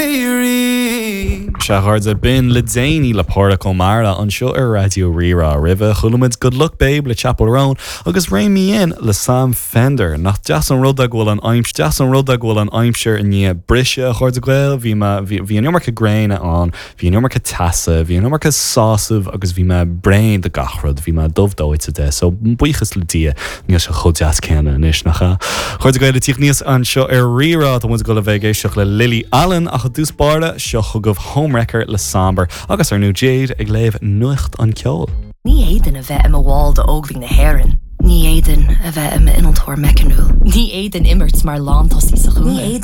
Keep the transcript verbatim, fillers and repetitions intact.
Cleary. Sea, a chairde, b'in le déanaí le Pádraic Ó Meára anseo ar Raidió Rí-Rá roimhe chuala muid Good Luck Babe le Chappell Roan agus Rein Me In le Sam Fender nach deas an rud go bhfuil an aimsir deas an rud go bhfuil an aimsir i ndiaidh briseadh a chairde Gael bhí bhí an iomarca gréine ann, bhí an iomarca teasa, bhí an iomarca sásamh agus bhí mé bréan de gach rud, bhí mé dubh dóite de, so buíochas le Dia níl sé chomh deas céanna anois nach ea. Chairde Gael ag tíocht aníos anseo ar Rí-Rá tá muid ag dul a bheith ag éisteacht le Lily Allen ach i dtús báire seo chugaibh Homewrecker le Samber agus ar ndóigh Jade ag léamh nuacht an ceol. Ní fhéadfainn a bheith i mo bhall d'Óglaigh na hÉireann. Ní fhéadfainn a bheith i m'innealtóir meicniúil. Ní fhéadfainn imirt mar lántosaí sa Ní chúnga. fhéadfainn